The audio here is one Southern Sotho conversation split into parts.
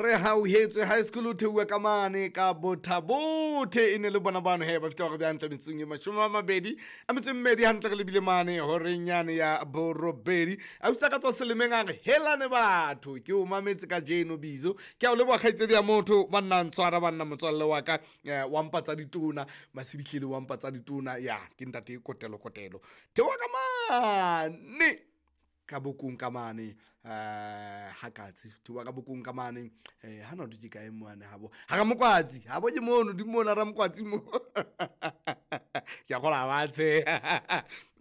Re hauhetswe high school o theoha ka mane ka Botha-Bothe, e ne le bona bano he ba fihla hore hantle metsotsong e 28 hantle re lebile mane horeng yane ya borobedi. A usta ka tswa selemeng a re helane batho, ke o mametse kajeno Bizo, ke a o leboha kgaitsedi ya motho banna ntshwara banna motswalle wa ka, wa mpa tsa ditona masibihlele wa mpa tsa ditona ya ke ntate Kotelo Kotelo theoha ka mane ka bokong ka mane, ha katse theoha ka bokong ka mane, hana ho ke kae mane habo ha Ramokwatsi, habo ke mono di mona Ramokwatsi mo ke a kgola ba tshe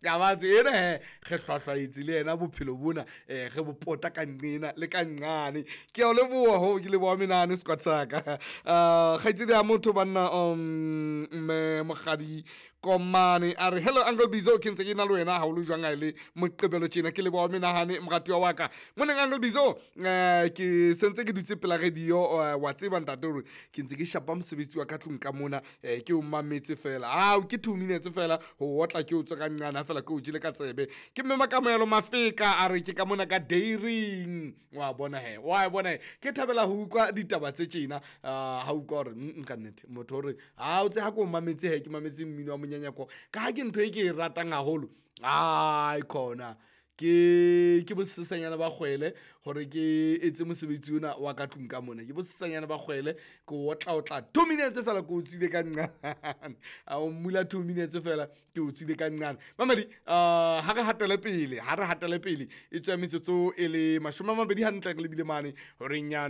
ka ba tse ena he re hlwahlwaetse le yena bophelo bona, re bo pota ka nqena le ka nqane. Ke a o leboha ho ke leboha menahane squad sa ka. Kgaitsedi ya motho banna, mme Mokgadi Komane a re hello Uncle Bizo, ke ntse ke na le wena haholo jwang ha e le Moqebelo tjena, ke leboha menahane moratuwa wa ka. Moneng Uncle Bizo, ke sentse ke dutse pela radio, wa tseba ntate hore ke ntse ke shapa mosebetsi wa ka tlung ka mona, ke o mametse fela. Ao ke 2 minutes fela ho otla ke o tswe ka nqane ha fela ke o jele ka tsebe. Ke mme Makamohelo Mafeka a re ke ka mona ka dairing, wa bona he, wa bona he, ke thabela ho utlwa ditaba tse tjena, ha utlwa hore ka nnete motho hore ha o tse ha ke o mametse he, ke mametse mmino wa monyanyako ka ha ke ntho e ke e ratang haholo. Ai khona ke bosesanyana ba kgwele hore ke etse mosebetsi ona wa ka tlung ka mona, ke bosesanyana ba kgwele ke otla otla 2 minutes fela ke o tswile ka nqane, a o mmula 2 minutes fela ke o tswile ka nqane. Mamedi, ha re hatele pele, ha re hatele pele e tswa metsotso e le 20 hantle re lebile mane horeng ya